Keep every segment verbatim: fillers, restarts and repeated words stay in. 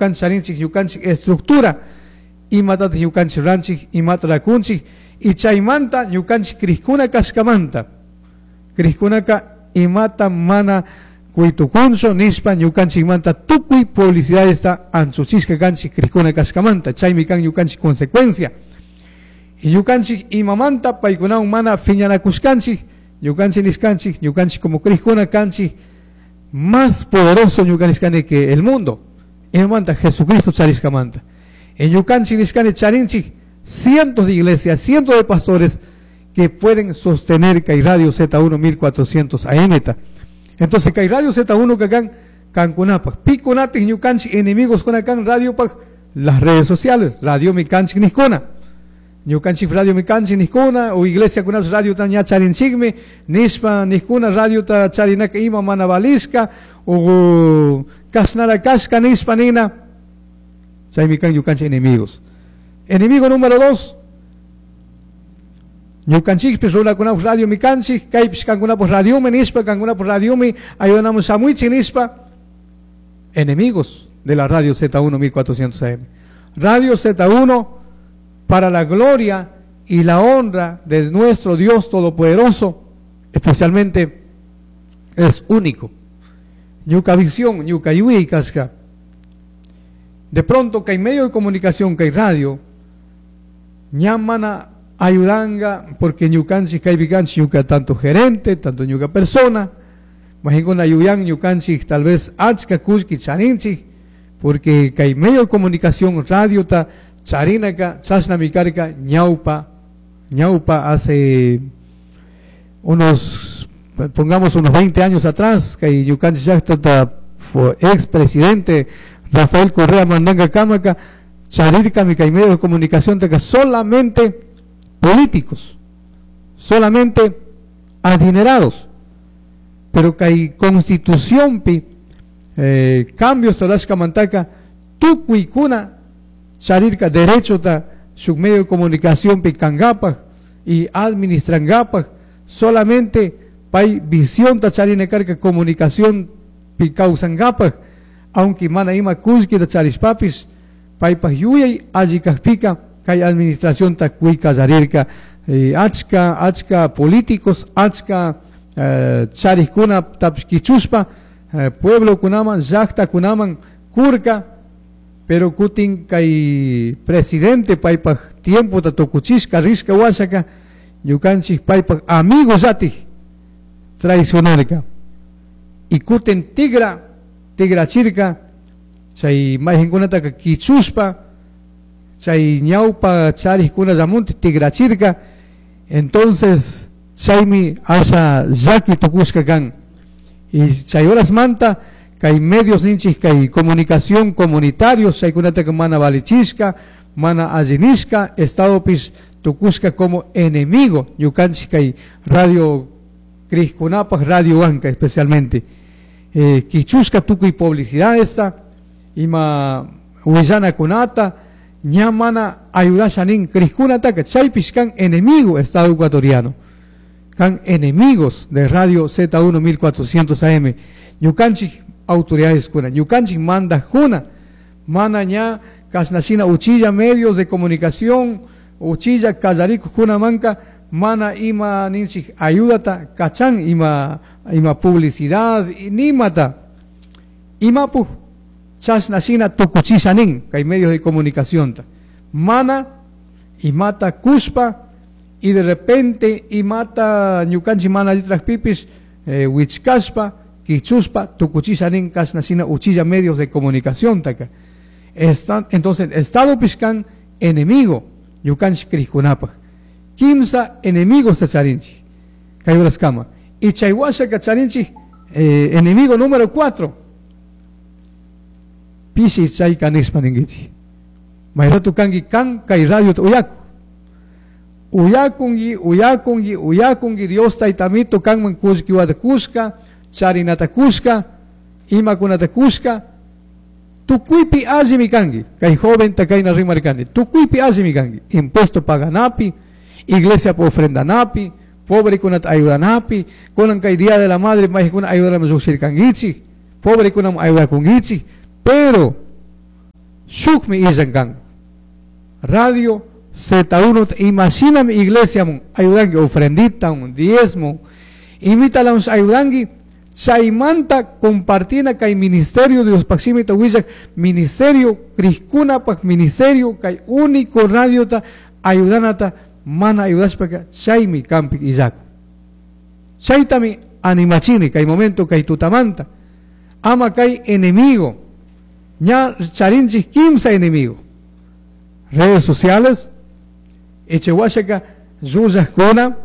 ñukanchik charinchik ñukanchik estructura imatataq ñukanchik ruranchik imata rakunchik y chaymanta ñukanchik crikuna kashkamanta crikkunaka imata mana kuytukunchu nishpa ñukanchikmanta tukuy publicidadesta anchuchishka kanchik crikuna kashkamanta chaymi kan ñukanchik consecuencia y ñukanchik imamanta paykunawan mana phiñanakushkanchik ñukanchik nishkanchik ñukanchik como crikuna kanchik más poderoso ñuka nishkani que el mundo imamanta Jesucristo charishkamanta y ñukanchik nishkani charinchik cientos de iglesias, cientos de pastores que pueden sostener kay Radio Z uno mil cuatrocientos A M ta. Entonces kay Radio Z uno kakan kankunapaj pikunatik ñukanchik enemigos kunakan radiopaj las redes sociales, radio mi kanchik nijkuna ñukanchik radio mi kanchik nijkuna o iglesia kunapish radio ta ña charinchikmi nishpa nijkuna radio ta charinaka ima mana valishka o kashnara kashka nishpa nina chaymi kan ñukanchik enemigos. Enemigo número dos, ñukanchikpish runakunapaj radio mi kanchik, kaypish kankunapaj radiomi nishpa, kankunapaj radiomi ayudanamos shamuichik nishpa, enemigos de la Radio Z uno mil cuatrocientos A M. Radio Z uno para la gloria y la honra de nuestro Dios Todopoderoso, especialmente es único. Ñuka visión, ñuka yuyay kashka. De pronto que hay medio de comunicación, que hay radio, ñamana ayudanga, porque ñukanchik kaypi kanchik ñuka tanto gerente, tanto ñuka persona, majinkuna ayuyan ñukanchik tal vez achka kullki charinchik, porque kay medio de comunicación radio ta charinaka chashnami karka ñawpa, ñawpa hace unos, pongamos unos veinte años atrás, kay ñukanchik llaqta ta fue expresidente Rafael Correa Mandanga Kamaka, charirkami kay medio de comunicación taka solamente políticos, solamente adinerados, pero kay constitución pi, eh, cambios torashka mantaka tukuykuna charirka derecho ta shuk medio de comunicación pi kankapaj y administrankapaj, solamente pay visión ta charina karka comunicación pi kawsankapaj, aunque mana ima kullki ta charishpapis paypaj yuyay alli kajpika kay administración ta kuykallarirka, eh, achka, achka políticos, achka, eh, charikuna tapish kichushpa, eh, pueblo kunaman, llaqta kunaman kurka, pero kutin kay presidente paypaj tiempo ta tukuchishka rishka washaka ñukanchik paypaj amigo llatik traicionarka y kutin tigra tigrachirka chay mayqinkunataka kichushpa chay ñawpa charikuna llamunti tigrachirka. Entonces chaymi asha llaki tukushka kan y chay horas manta kay medios ninchik kay comunicación comunitarios chaykunataka mana valichishka mana allinishka estadopis tukushka como enemigo ñukanchik kay radio Criskunapaj radio Wanka especialmente, eh, kichushka tukuy publicidad esta ima willana kunata ña mana ayudasha nin Criskunataka chaypish kan enemigo Estado ecuatoriano, kan enemigos de Radio Z uno mil cuatrocientos A M ñukanchik autoridades kuna ñukanchik mandajkuna mana ña kashnashina uchilla medios de comunicación uchilla kallarikukuna manka mana ima ninchik ayudata kachan ima, ima publicidad nimata imapuj chashnashina tukuchisha nin kay medios de comunicación ta mana imata kushpa y de repente imata ñukanchik mana allitrajpipis, eh, wichkashpa kichuspa tukuchisha nin kashnashina uchilla medios de comunicación taka. Está, entonces Estado pishkan enemigo ñukanchik krikkunapaj kimsa enemigos ta charinchik kay horaskama y chay washaka charinchik, eh, enemigo número cuatro pishi chay kanishpa ninkichik mayratu kanki kan kay radio ta uyaku uyakunki uyakunki uyakunki Dios taytamito kanman kullkiwata kushka charinata kushka imakunata kushka tukuypi allimi kanki kay joven ta kayna rimarkani tukuypi allimi kanki impuesto paganapi iglesia po ofrendanapi pobre kunata ayudanapi kunan kay día de la madre mayqikuna ayudanaman lluqshirkankichik pobre kunam ayudakunkichik pero Shukmi illan kan. Radio Z uno imashinami iglesia mun ayudanki ofrendita un diezmo imítalamus ayudanki chaymanta compartina kay ministerio Diospaj shimita willak ministerio crijkunapaj ministerio kay único radiota ayudanata mana ayudashpaka chaymi kanpik illakun. Chaytami animachini kay momento kay tutamanta ama kay enemigo ña charinchik kimsa enemigo redes sociales echewashaka llullakuna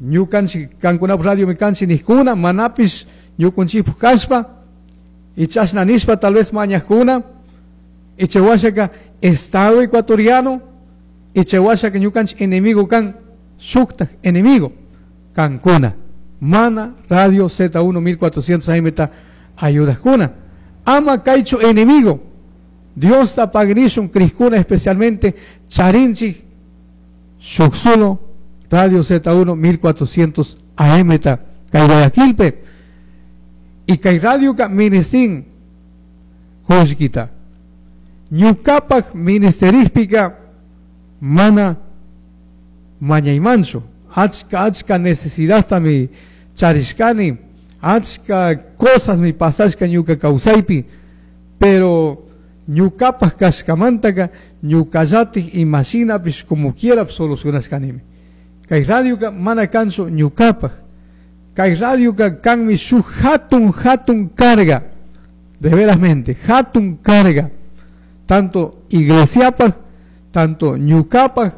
ñukanchik kankunapaj radio mi kanchik nijkuna manapish ñukunchikpaj kashpa y chashna nishpa tal vez mañajkuna echewashaka Estado ecuatoriano echewashaka ñukanchik enemigo kan shuktaj enemigo kankuna mana radio Z uno mil cuatrocientos A M ta ayudajkuna ama kaychu enemigo Dios ta pagnishun crijkuna especialmente charinchik shuk solo Radio Z uno mil cuatrocientos A M ta kay Guayaquilpe y kay radio ka ministin kullkita ñukapak ministerijpika mana mañaymanchu achka achka necesidad mi charishkani achka cosas mi pasashka ñuka kawsaypi pero ñukapak kashkamantaka ñukallatik imashinapish como quiera solucionashkanimi kay radioka mana kanchu ñukapak kay radioka kanmi shuk hatun hatun carga de verasmente hatun carga tanto iglesiapak tanto ñukapak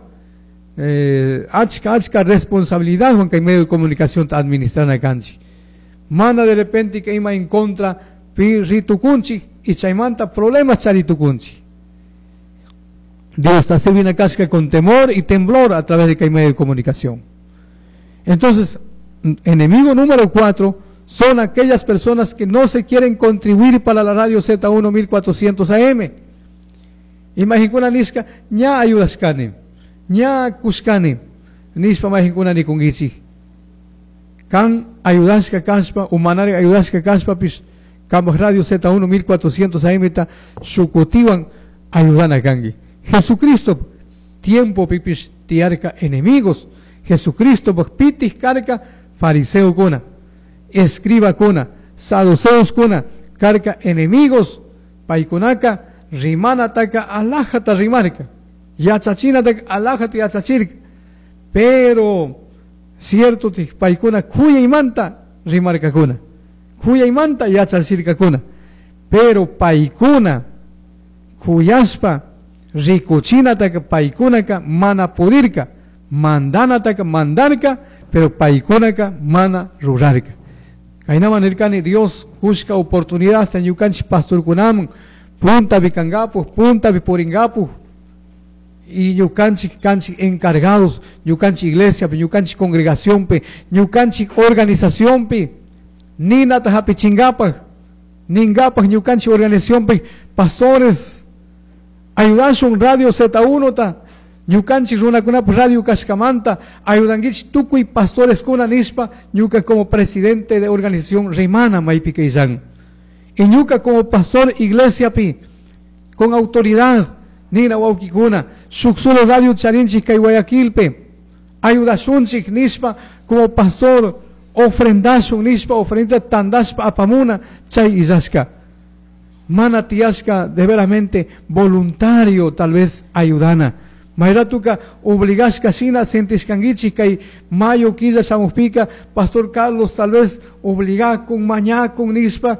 eh, achka achka responsabilidad kay medio de comunicación administrana kanchik mana de repente que ima en contra pi ritukunchik y chaymanta problemas charitukunchik Dios está sirviendo casca con temor y temblor a través de que hay medio de comunicación. Entonces, enemigo número cuatro son aquellas personas que no se quieren contribuir para la radio Z uno mil cuatrocientos A M. Imagina nishka, ña ayudashkani, ña kushkani, nishpa majinkuna nikungichik. Kan ayudashka kashpa, umanari ayudashka kashpa, pis, kambaj radio Z uno mil cuatrocientos A M ta shukutiwan ayudana kangi. Jesucristo tiempo pipis tiarca enemigos. Jesucristo pitis carca fariseo kuna, escriba kuna, saduceos kuna, carca enemigos, paikunaka, rimana taka alajata rimarca, yachachina taka alajata yachachirca, pero cierto paikuna kuyaymanta rimarca kuna, kuyaymanta yachachirca kuna, pero paikuna kuyaspa rikuchinataka paikunaka mana pudirka, mandanataka mandarka, pero paikunaka mana rurarka. Kaynama nirkani Dios kushka oportunidad ñukanchik pastorkunaman punta bikangapu, punta bipuringapu, y ñukanchik kanchik encargados, ñukanchik iglesia, ñukanchik congregación, ñukanchik organización, ninata hapichingapaj, ningapaj ñukanchik organización, pastores, ayudashun radio Z uno ta, ñukanchik runakunapaj radio kashkamanta, ayudanguich tukuy pastores kuna nispa, ñuka como presidente de organización rimana maypi kaysan. Y ñuka como pastor iglesia pi, con autoridad, nina wawkikuna, shuk solo radio charinchik kay Guayaquilpe, ayudashunchik nispa, como pastor ofrendashun nispa, ofrenda tandashpa apamuna, chay illashka. Mana tiyashka de veramente voluntario tal vez ayudana. Mayratuka obligashka shina sentishkanguichik kay mayo killa shamuspika, Pastor Carlos tal vez obligakun, mañakun nispa,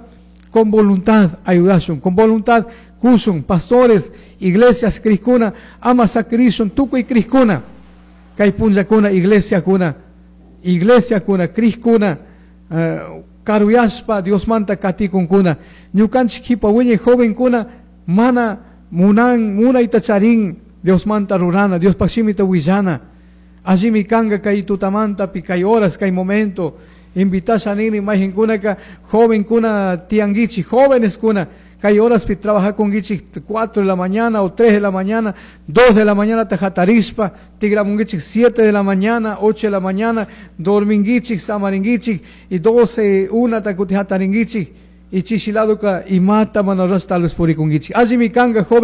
con voluntad ayudashun, con voluntad kushun, pastores, iglesias criskuna, ama sakrishun, tukuy criskuna, kay punllakuna, iglesia kuna, iglesia kuna, criskuna, eh, karuyashpa Diosmanta katikunkuna, ñukanchik jipa wiñay jovenkuna, mana munan, munayta charin, Diosmanta rurana, Diospaj shimita willana, allimi kanga kay tutamanta pi kay horas, kay momento, invitasha nini mayhinkunaka, jovenkuna tianguichi, jóvenes kuna, kay horas pi trabaja kunguichi cuatro de la mañana o tres de la mañana, dos de la mañana tajatarispa, tigramunguichi siete de la mañana, ocho de la mañana, dorminguichi, samaringuichi, y doce, una takutijataringuichi, y chishiladuka, y mata manoras tal vez purikunguichi. Allimi kanga joven